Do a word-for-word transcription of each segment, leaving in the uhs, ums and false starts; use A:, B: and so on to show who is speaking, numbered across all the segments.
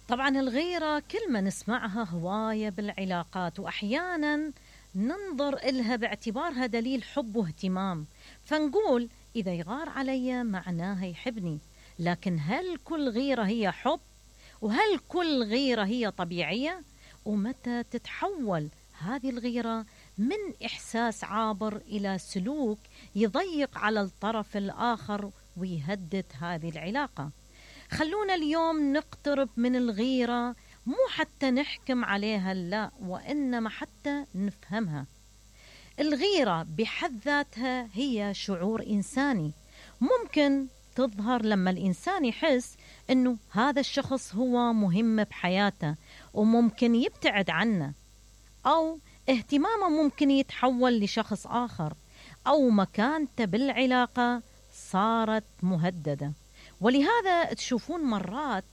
A: طبعا الغيرة كلمة نسمعها هواية بالعلاقات، وأحيانا ننظر إلها باعتبارها دليل حب واهتمام، فنقول إذا يغار علي معناها يحبني. لكن هل كل غيرة هي حب؟ وهل كل غيرة هي طبيعية؟ ومتى تتحول هذه الغيرة من إحساس عابر إلى سلوك يضيق على الطرف الآخر ويهدد هذه العلاقة؟ خلونا اليوم نقترب من الغيرة، مو حتى نحكم عليها، لا، وإنما حتى نفهمها. الغيرة بحد ذاتها هي شعور إنساني، ممكن تظهر لما الإنسان يحس إنه هذا الشخص هو مهم بحياته وممكن يبتعد عنه، أو اهتمامه ممكن يتحول لشخص آخر، أو مكانته بالعلاقة صارت مهددة. ولهذا تشوفون مرات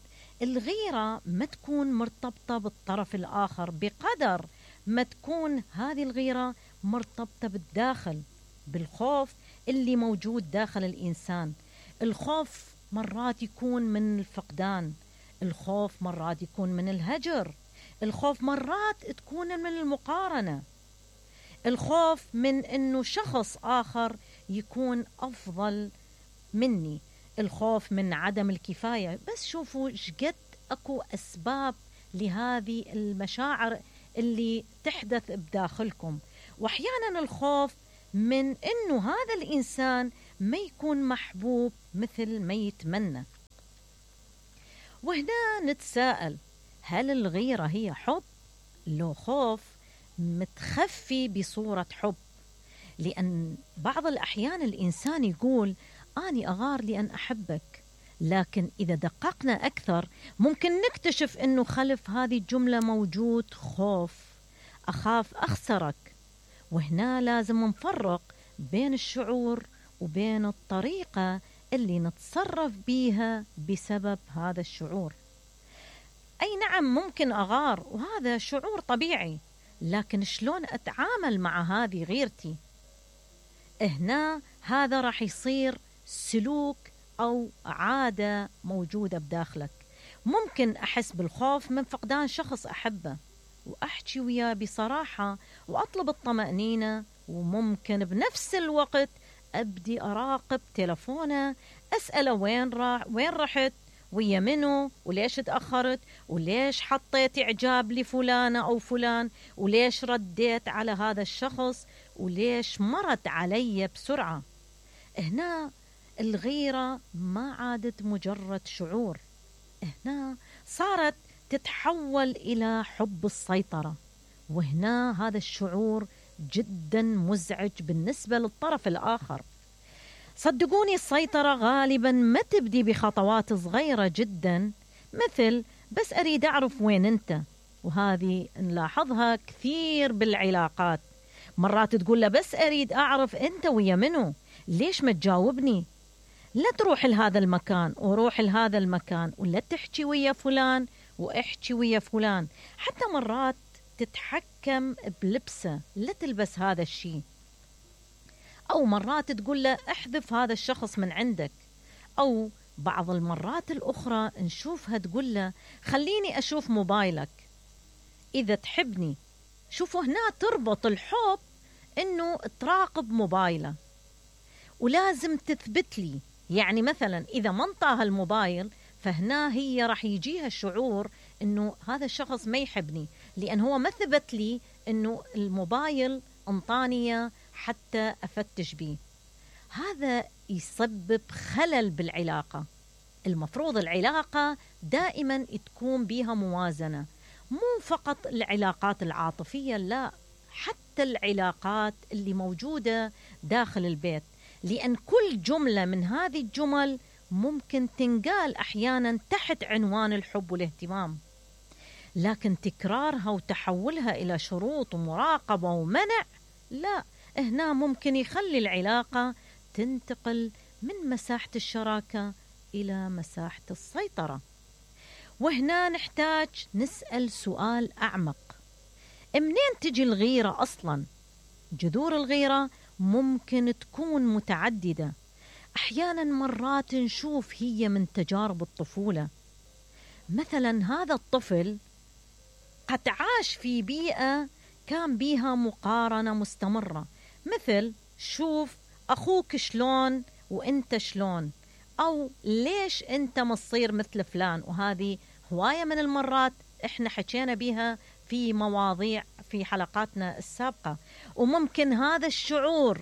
A: الغيرة ما تكون مرتبطة بالطرف الآخر بقدر ما تكون هذه الغيرة مرتبطة بالداخل، بالخوف اللي موجود داخل الإنسان. الخوف مرات يكون من الفقدان، الخوف مرات يكون من الهجر، الخوف مرات تكون من المقارنة، الخوف من أنه شخص آخر يكون أفضل مني، الخوف من عدم الكفاية. بس شوفوا شقد أكو أسباب لهذه المشاعر اللي تحدث بداخلكم. وأحيانا الخوف من أنه هذا الإنسان ما يكون محبوب مثل ما يتمنى. وهنا نتساءل، هل الغيرة هي حب؟ لو خوف متخفي بصورة حب؟ لأن بعض الأحيان الإنسان يقول أني أغار لأن أحبك، لكن إذا دققنا أكثر ممكن نكتشف أنه خلف هذه الجملة موجود خوف، أخاف أخسرك. وهنا لازم نفرق بين الشعور وبين الطريقة اللي نتصرف بيها بسبب هذا الشعور. أي نعم ممكن أغار وهذا شعور طبيعي، لكن شلون أتعامل مع هذه غيرتي؟ هنا هذا راح يصير سلوك أو عادة موجودة بداخلك. ممكن أحس بالخوف من فقدان شخص أحبه وأحكي وياه بصراحة وأطلب الطمأنينة، وممكن بنفس الوقت أبدي أراقب تلفونه، أسأله وين راح، وين رحت، ويا منو، وليش تأخرت، وليش حطيت إعجاب لفلانة أو فلان، وليش رديت على هذا الشخص، وليش مرت علي بسرعة. هنا الغيرة ما عادت مجرد شعور، هنا صارت تتحول إلى حب السيطرة. وهنا هذا الشعور جدا مزعج بالنسبة للطرف الآخر. صدقوني السيطرة غالبا ما تبدي بخطوات صغيرة جدا، مثل بس أريد أعرف وين أنت، وهذه نلاحظها كثير بالعلاقات. مرات تقول له بس أريد أعرف أنت ويا منو، ليش ما تجاوبني؟ لا تروح لهذا المكان وروح لهذا المكان، ولا تحكي ويا فلان واحكي ويا فلان. حتى مرات تتحكم بلبسه، لا تلبس هذا الشيء، أو مرات تقول له احذف هذا الشخص من عندك. أو بعض المرات الأخرى نشوفها تقول له خليني أشوف موبايلك إذا تحبني. شوفوا هنا تربط الحب إنه تراقب موبايله ولازم تثبت لي. يعني مثلا إذا ما انطاها الموبايل، فهنا هي راح يجيها الشعور إنه هذا الشخص ما يحبني، لأن هو ما ثبت لي إنه الموبايل انطاني حتى أفتش بيه. هذا يسبب خلل بالعلاقة. المفروض العلاقة دائما تكون بيها موازنة، مو فقط العلاقات العاطفية، لا، حتى العلاقات اللي موجودة داخل البيت. لأن كل جملة من هذه الجمل ممكن تنقال أحيانا تحت عنوان الحب والاهتمام، لكن تكرارها وتحولها إلى شروط ومراقبة ومنع، لا، هنا ممكن يخلي العلاقة تنتقل من مساحة الشراكة إلى مساحة السيطرة. وهنا نحتاج نسأل سؤال أعمق، منين تجي الغيرة أصلا؟ جذور الغيرة ممكن تكون متعددة. أحيانا مرات نشوف هي من تجارب الطفولة، مثلا هذا الطفل قد عاش في بيئة كان بيها مقارنة مستمرة، مثل شوف أخوك شلون وإنت شلون، أو ليش أنت ما تصير مثل فلان. وهذه هواية من المرات إحنا حكينا بيها في مواضيع في حلقاتنا السابقة. وممكن هذا الشعور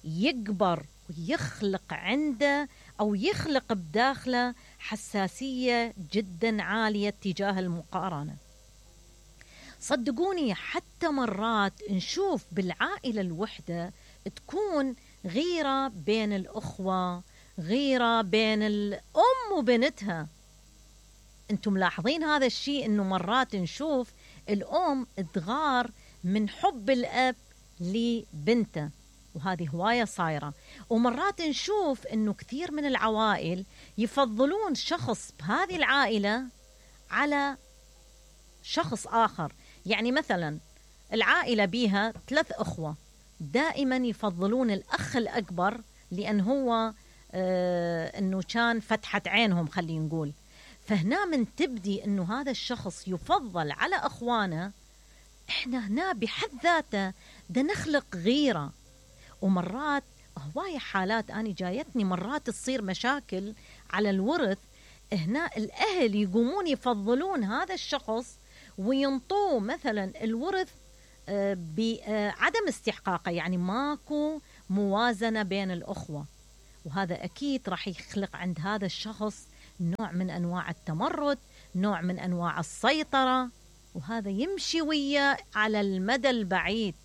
A: يكبر ويخلق عنده أو يخلق بداخله حساسية جدا عالية تجاه المقارنة. صدقوني حتى مرات نشوف بالعائلة الوحدة تكون غيرة بين الأخوة، غيرة بين الأم وبنتها. أنتم ملاحظين هذا الشيء، أنه مرات نشوف الأم تغار من حب الأب لبنته، وهذه هواية صايرة. ومرات نشوف أنه كثير من العوائل يفضلون شخص بهذه العائلة على شخص آخر. يعني مثلا العائلة بيها ثلاث أخوة، دائما يفضلون الأخ الأكبر لأن هو آه أنه كان فتحة عينهم خلينا نقول. فهنا من تبدي أنه هذا الشخص يفضل على أخوانه، إحنا هنا بحد ذاته ده نخلق غيرة. ومرات هواية حالات أنا جايتني مرات تصير مشاكل على الورث، هنا الأهل يقومون يفضلون هذا الشخص وينطوه مثلا الورث بعدم استحقاقه، يعني ماكو موازنة بين الأخوة. وهذا أكيد راح يخلق عند هذا الشخص نوع من أنواع التمرد، نوع من أنواع السيطرة، وهذا يمشي وياه على المدى البعيد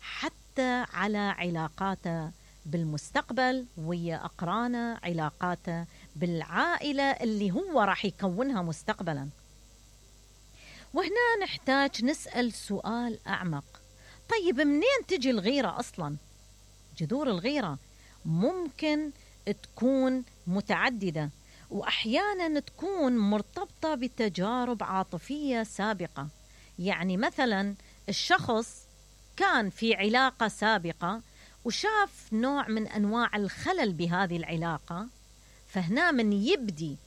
A: حتى على علاقاته بالمستقبل ويا أقرانه، علاقاته بالعائلة اللي هو راح يكونها مستقبلا. وهنا نحتاج نسأل سؤال أعمق، طيب منين تجي الغيرة أصلا؟ جذور الغيرة ممكن تكون متعددة، وأحيانا تكون مرتبطة بتجارب عاطفية سابقة. يعني مثلا الشخص كان في علاقة سابقة وشاف نوع من أنواع الخلل بهذه العلاقة، فهنا من يبدي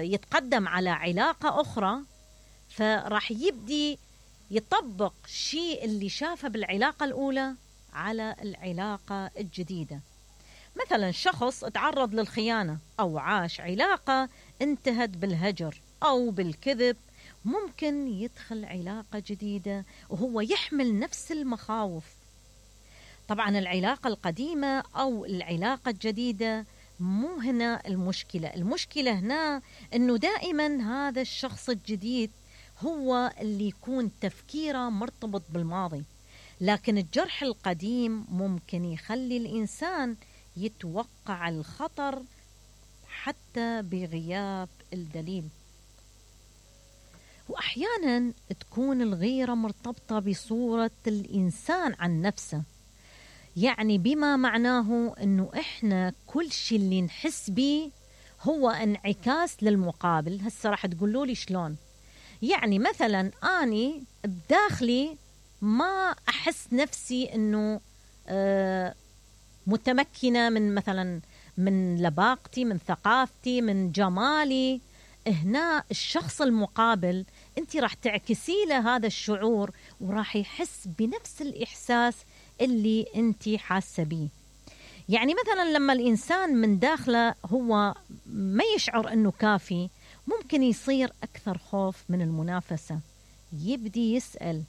A: يتقدم على علاقة أخرى فراح يبدي يطبق شيء اللي شافه بالعلاقة الأولى على العلاقة الجديدة. مثلا شخص تعرض للخيانة أو عاش علاقة انتهت بالهجر أو بالكذب، ممكن يدخل علاقة جديدة وهو يحمل نفس المخاوف. طبعا العلاقة القديمة أو العلاقة الجديدة مو هنا المشكلة، المشكلة هنا أنه دائما هذا الشخص الجديد هو اللي يكون تفكيره مرتبط بالماضي، لكن الجرح القديم ممكن يخلي الإنسان يتوقع الخطر حتى بغياب الدليل. وأحيانا تكون الغيرة مرتبطة بصورة الإنسان عن نفسه، يعني بما معناه أنه إحنا كل شيء اللي نحس به هو انعكاس للمقابل. هسه راح تقولوا لي شلون؟ يعني مثلا أني بداخلي ما أحس نفسي أنه آه متمكنة من مثلا من لباقتي، من ثقافتي، من جمالي. هنا الشخص المقابل أنت راح تعكسي له هذا الشعور وراح يحس بنفس الإحساس اللي أنت حاسة بيه. يعني مثلا لما الإنسان من داخله هو ما يشعر أنه كافي، ممكن يصير أكثر خوف من المنافسة، يبدي يسأل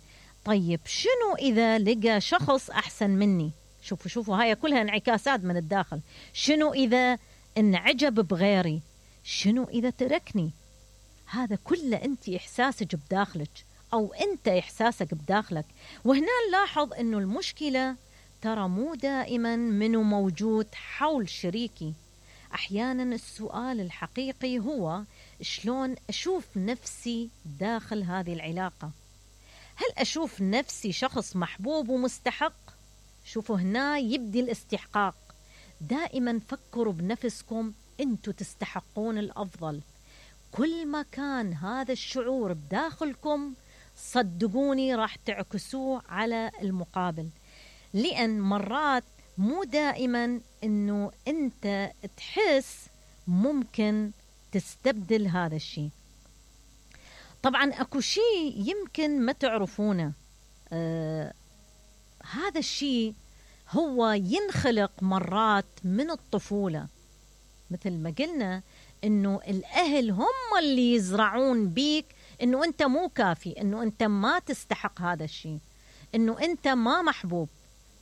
A: طيب شنو إذا لقى شخص أحسن مني؟ شوفوا شوفوا هاي كلها انعكاسات من الداخل. شنو إذا انعجب بغيري؟ شنو إذا تركني؟ هذا كله أنت إحساسك بداخلك أو أنت إحساسك بداخلك. وهنا نلاحظ أنه المشكلة ترى مو دائما منو موجود حول شريكي. أحيانا السؤال الحقيقي هو شلون أشوف نفسي داخل هذه العلاقة؟ هل أشوف نفسي شخص محبوب ومستحق؟ شوفوا هنا يبدي الاستحقاق. دائما فكروا بنفسكم أنتوا تستحقون الأفضل. كل ما كان هذا الشعور بداخلكم صدقوني راح تعكسوه على المقابل، لأن مرات مو دائما أنه أنت تحس، ممكن تستبدل هذا الشيء. طبعا اكو شيء يمكن ما تعرفونه، آه هذا الشيء هو ينخلق مرات من الطفولة. مثل ما قلنا انه الاهل هم اللي يزرعون بيك انه انت مو كافي، انه انت ما تستحق هذا الشيء، انه انت ما محبوب.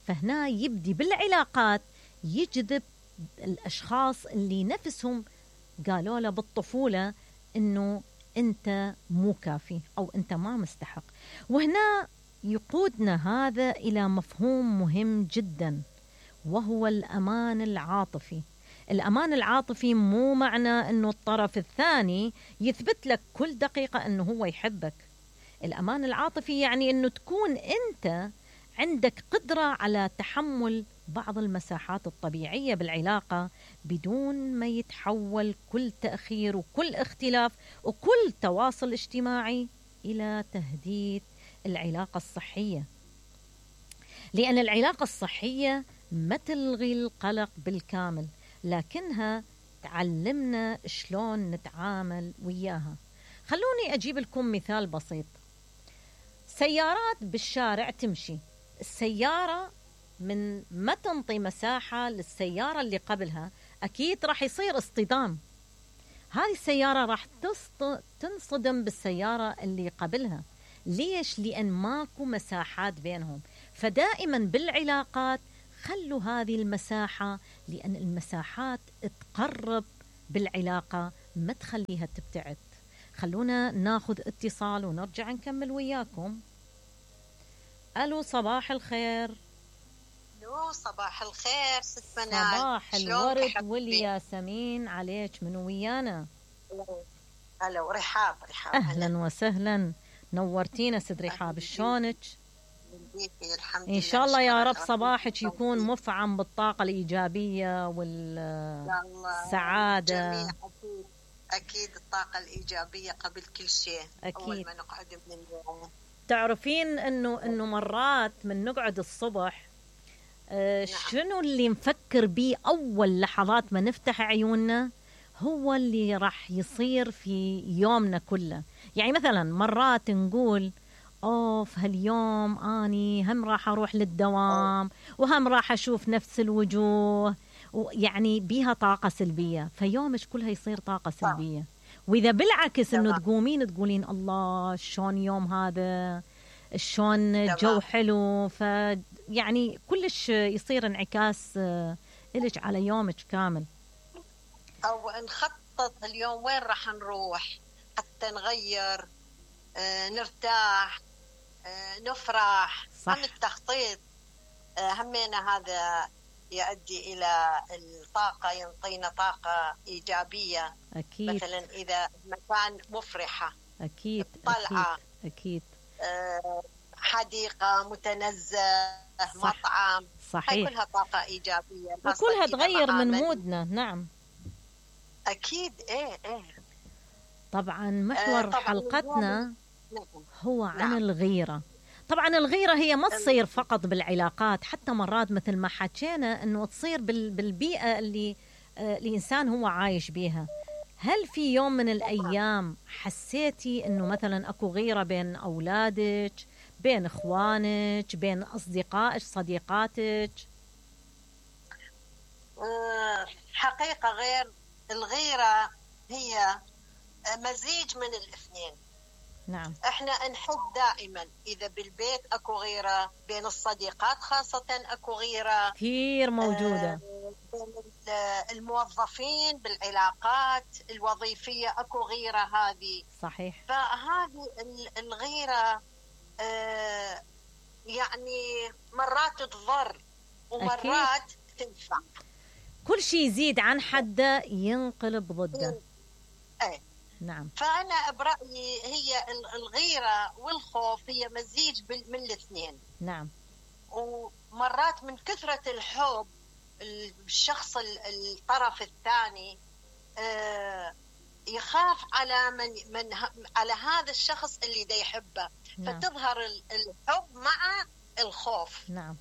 A: فهنا يبدي بالعلاقات يجذب الاشخاص اللي نفسهم قالوا له بالطفولة انه انت مو كافي او انت ما مستحق. وهنا يقودنا هذا الى مفهوم مهم جدا، وهو الامان العاطفي. الأمان العاطفي مو معنى أنه الطرف الثاني يثبت لك كل دقيقة أنه هو يحبك. الأمان العاطفي يعني أنه تكون أنت عندك قدرة على تحمل بعض المساحات الطبيعية بالعلاقة بدون ما يتحول كل تأخير وكل اختلاف وكل تواصل اجتماعي إلى تهديد العلاقة الصحية. لأن العلاقة الصحية ما تلغي القلق بالكامل، لكنها تعلمنا شلون نتعامل وياها. خلوني أجيب لكم مثال بسيط. سيارات بالشارع تمشي، السيارة من ما تنطي مساحة للسيارة اللي قبلها أكيد راح يصير اصطدام. هذه السيارة راح تنصدم بالسيارة اللي قبلها. ليش؟ لأن ماكو مساحات بينهم. فدائما بالعلاقات خلوا هذه المساحة، لأن المساحات تقرب بالعلاقة ما تخليها تبتعد. خلونا ناخذ اتصال ونرجع نكمل وياكم. ألو، صباح الخير.
B: ألو، صباح الخير ست منال.
A: صباح الورد والياسمين عليك. من ويانا؟
B: ألو، رحاب. رحاب
A: أهلا وسهلا، نورتينا ست رحاب. شلونك؟ إن شاء الله يا رب صباحك يكون مفعم بالطاقة الإيجابية والسعادة.
B: أكيد أكيد الطاقة الإيجابية قبل كل شيء.
A: أكيد.
B: أول ما نقعد من اليوم
A: تعرفين إنه إنه مرات من نقعد الصبح آه نعم. شنو اللي نفكر بيه أول لحظات ما نفتح عيوننا هو اللي راح يصير في يومنا كله. يعني مثلا مرات نقول أوف هاليوم أني هم راح أروح للدوام وهم راح أشوف نفس الوجوه، ويعني بيها طاقة سلبية، فيومك كلها يصير طاقة سلبية. وإذا بالعكس إنه تقومين تقولين الله شلون يوم هذا، شلون الجو حلو، فيعني كلش يصير انعكاس إلك على يومك كامل.
B: أو نخطط اليوم وين راح نروح حتى نغير، آه، نرتاح، آه، نفرح. صح. هم التخطيط آه، همينا هذا يؤدي إلى الطاقة، ينطينا طاقة إيجابية.
A: أكيد.
B: مثلا إذا مكان مفرحة،
A: أكيد
B: طلعة،
A: أكيد, أكيد.
B: آه، حديقة متنزه، صح. مطعم.
A: صحيح.
B: هاي كلها طاقة إيجابية
A: وكلها تغير من مودنا. نعم
B: أكيد. إيه إيه
A: طبعا محور آه حلقتنا هو عن نعم. الغيرة. طبعا الغيرة هي ما تصير فقط بالعلاقات، حتى مرات مثل ما حكينا أنه تصير بالبيئة اللي آه الإنسان هو عايش بيها. هل في يوم من الأيام حسيتي أنه مثلا أكو غيرة بين أولادك، بين إخوانك، بين أصدقائك، صديقاتك؟
B: آه حقيقة غير الغيرة هي مزيج من الاثنين.
A: نعم.
B: احنا نحب دائما اذا بالبيت اكو غيره، بين الصديقات خاصه اكو غيره
A: كثير موجوده،
B: بين الموظفين بالعلاقات الوظيفيه اكو غيره. هذه
A: صحيح.
B: فهذه الغيره اه يعني مرات تضر ومرات أكيد. تنفع.
A: كل شيء يزيد عن حده ينقلب ضده.
B: ايه.
A: نعم.
B: فأنا برأيي هي الغيرة والخوف هي مزيج من الاثنين.
A: نعم.
B: ومرات من كثرة الحب الشخص الطرف الثاني يخاف على من من على هذا الشخص اللي دا يحبه. نعم. فتظهر الحب مع الخوف.
A: نعم.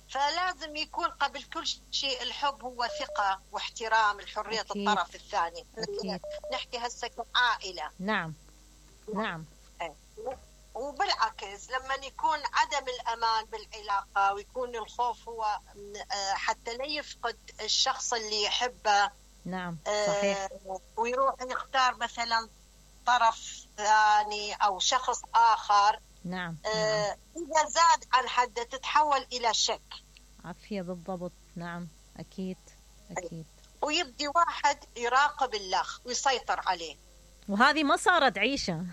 B: فلازم يكون قبل كل شيء الحب هو ثقة واحترام لحرية الطرف الثاني.
A: أكيد.
B: نحكي هسه كعائلة.
A: نعم. نعم.
B: وبالعكس لما يكون عدم الأمان بالعلاقة ويكون الخوف هو حتى لا يفقد الشخص اللي يحبه.
A: نعم صحيح.
B: ويروح يختار مثلا طرف ثاني أو شخص آخر.
A: نعم.
B: آه إذا زاد عن حده تتحول إلى شك.
A: عافية بالضبط. نعم أكيد أكيد.
B: ويبدي واحد يراقب الأخ ويسيطر عليه،
A: وهذه ما صارت عيشة.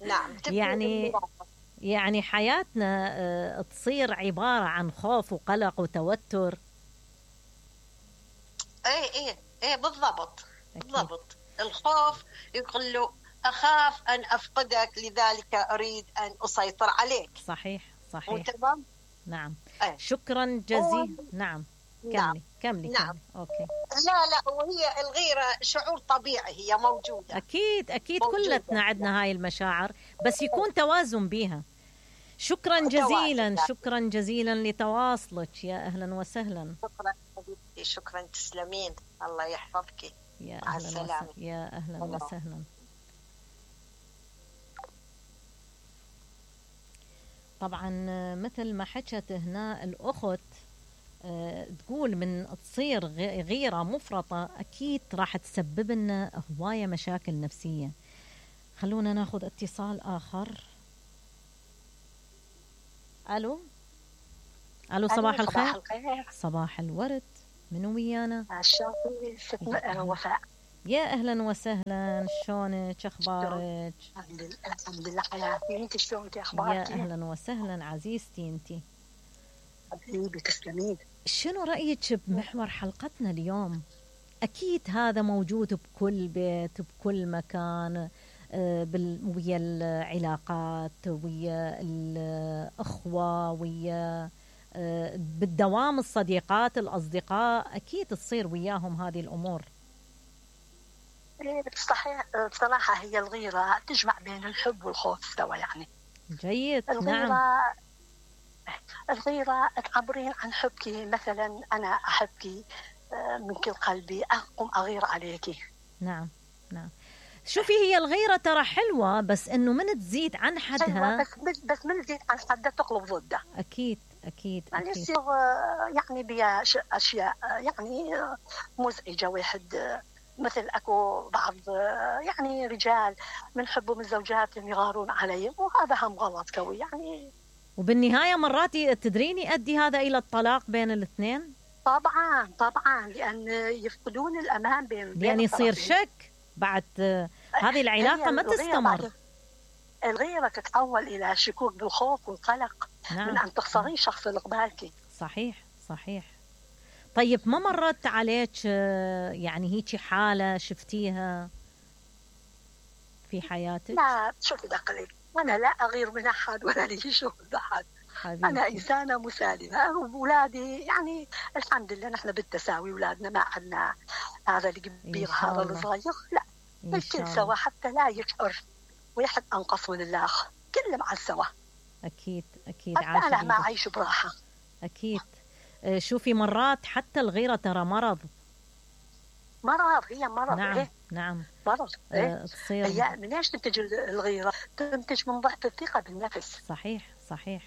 B: نعم.
A: يعني يعني حياتنا تصير عبارة عن خوف وقلق وتوتر.
B: ايه ايه ايه بالضبط. أكيد. بالضبط. الخوف يقول له أخاف أن أفقدك لذلك أريد أن أسيطر عليك.
A: صحيح صحيح.
B: تمام.
A: نعم.
B: أيه.
A: شكرا جزيلا. نعم كملي
B: نعم.
A: كملي.
B: نعم.
A: كملي. أوكي.
B: لا لا وهي الغيرة شعور طبيعي، هي موجودة.
A: أكيد أكيد كلتنا عندنا هاي المشاعر، بس يكون توازن بيها. شكرا جزيلا. شكرا جزيلا لتواصلك. يا أهلا وسهلا.
B: شكرا حبيبتي. شكرا تسلمين. الله يحفظك.
A: يا أهلا وسهلا. يا أهلا وسهلا. طبعا مثل ما حكت هنا الأخت أه تقول من تصير غيرة مفرطة أكيد راح تسبب لنا هواية مشاكل نفسية. خلونا ناخذ اتصال آخر. ألو ألو صباح الخير.
C: صباح الخير.
A: صباح الورد. منو ويانا؟
C: الشاطري ست وفاء.
A: يا أهلا وسهلا. شلونك؟ أخبارك؟
C: الحمد لله الحمد لله حياتي. أنت شلونك؟ أخبارك؟
A: يا أهلا وسهلا عزيزتي. أنت
C: حبيبي تسلمين.
A: شنو رأيك بمحور حلقتنا اليوم؟ أكيد هذا موجود بكل بيت بكل مكان، ويا العلاقات ويا الأخوة ويا بالدوام الصديقات الأصدقاء، أكيد تصير وياهم هذه الأمور.
C: صحيح. بصراحة هي الغيرة تجمع بين الحب والخوف سوا يعني.
A: جيد.
C: الغيرة
A: نعم.
C: الغيرة تعبرين عن حبك، مثلا أنا أحبك من كل قلبي، أقوم أغير عليك.
A: نعم نعم. شوفي هي الغيرة ترى حلوة، بس إنه من تزيد عن حدها.
C: بس بس من تزيد عن حدها تقلب ضده.
A: أكيد أكيد.
C: يعني يصير يعني بيا أشياء يعني مزعجة. واحد مثل أكو بعض يعني رجال من حبهم الزوجات يغارون عليهم، وهذا هم غلط قوي يعني.
A: وبالنهاية مرات تدريني يؤدي هذا إلى الطلاق بين الاثنين.
C: طبعا طبعا، لأن يفقدون الأمان بين
A: لأن يعني يصير شك بعد هذه العلاقة ما تستمر.
C: الغيرة تتحول إلى شكوك بالخوف والقلق. نعم. من أن تخسرين شخص اللي قبالك.
A: صحيح صحيح. طيب ما مرت عليك يعني هيك حالة شفتيها في حياتك؟
C: لا شوفي دقلي، أنا لا أغير من أحد ولا لي شغل أحد. أنا إنسانة مسالمة. أولادي يعني الحمد لله نحن بالتساوي، أولادنا ما عندنا هذا الكبير هذا الصغير، لا الكل سوا حتى لا يشعر ويحد أنقص من الآخر، كل مع السوا.
A: أكيد أكيد.
C: حتى أنا ما أعيش براحة.
A: أكيد. شوفي مرات حتى الغيرة ترى مرض.
C: مرض هي مرض.
A: نعم.
C: إيه؟
A: نعم
C: مرض.
A: إيه؟
C: تصير هي من ايش تنتج الغيرة؟ تنتج من ضعف الثقة بالنفس.
A: صحيح صحيح.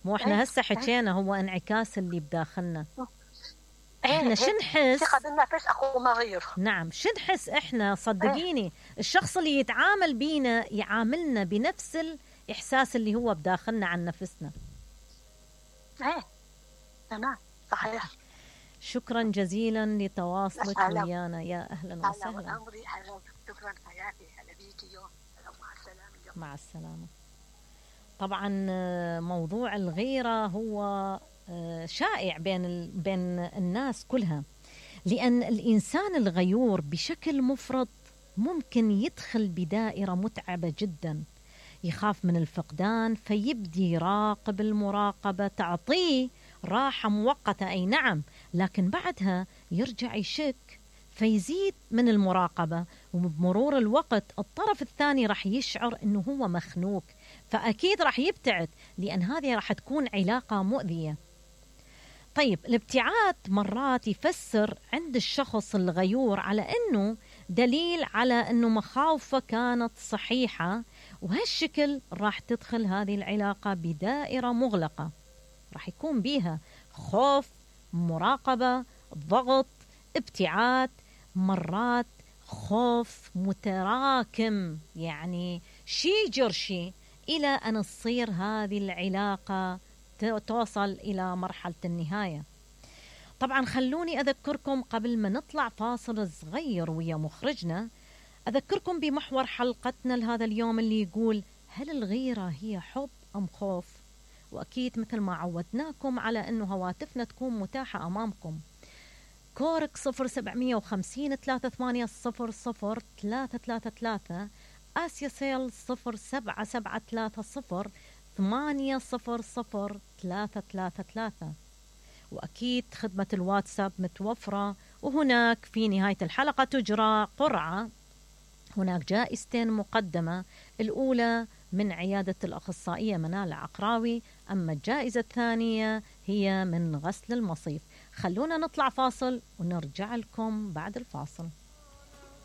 A: مو احنا هسه حكينا هو انعكاس اللي بداخلنا. احنا شنحس
C: ثقة بالنفس اخو ما غير.
A: نعم شنحس احنا صدقيني الشخص اللي يتعامل بينا يعاملنا بنفس الاحساس اللي هو بداخلنا عن نفسنا.
C: ايه تمام صحيح.
A: شكرا جزيلا لتواصلك ويانا. يا اهلا وسهلا.
C: شكرا حياتي. هلا بيكي. مع السلامه.
A: مع السلامه. طبعا موضوع الغيرة هو شائع بين بين الناس كلها، لأن الإنسان الغيور بشكل مفرط ممكن يدخل بدائرة متعبة جدا، يخاف من الفقدان فيبدي يراقب المراقبة تعطيه راحة مؤقتة أي نعم، لكن بعدها يرجع يشك فيزيد من المراقبة، وبمرور الوقت الطرف الثاني راح يشعر أنه هو مخنوق، فأكيد راح يبتعد، لأن هذه راح تكون علاقة مؤذية. طيب الابتعاد مرات يفسر عند الشخص الغيور على أنه دليل على أنه مخاوفه كانت صحيحة، وهالشكل راح تدخل هذه العلاقة بدائرة مغلقة راح يكون بيها خوف، مراقبة، ضغط، ابتعاد، مرات خوف متراكم، يعني شي جرشي، إلى أن تصير هذه العلاقة توصل إلى مرحلة النهاية. طبعا خلوني أذكركم قبل ما نطلع فاصل صغير ويا مخرجنا، أذكركم بمحور حلقتنا لهذا اليوم اللي يقول: هل الغيرة هي حب أم خوف؟ وأكيد مثل ما عودناكم على أنه هواتفنا تكون متاحة أمامكم. كورك صفر سبعمية وخمسين ثلاثة ثمانية صفر صفر ثلاثة ثلاثة ثلاثة، آسيا سيل صفر سبعة سبعة ثلاثة صفر ثمانية صفر صفر ثلاثة ثلاثة ثلاثة. وأكيد خدمة الواتساب متوفرة. وهناك في نهاية الحلقة تجرى قرعة، هناك جائزتين مقدمة، الأولى من عيادة الأخصائية منال عقراوي، أما الجائزة الثانية هي من غسل المصيف. خلونا نطلع فاصل ونرجع لكم بعد الفاصل.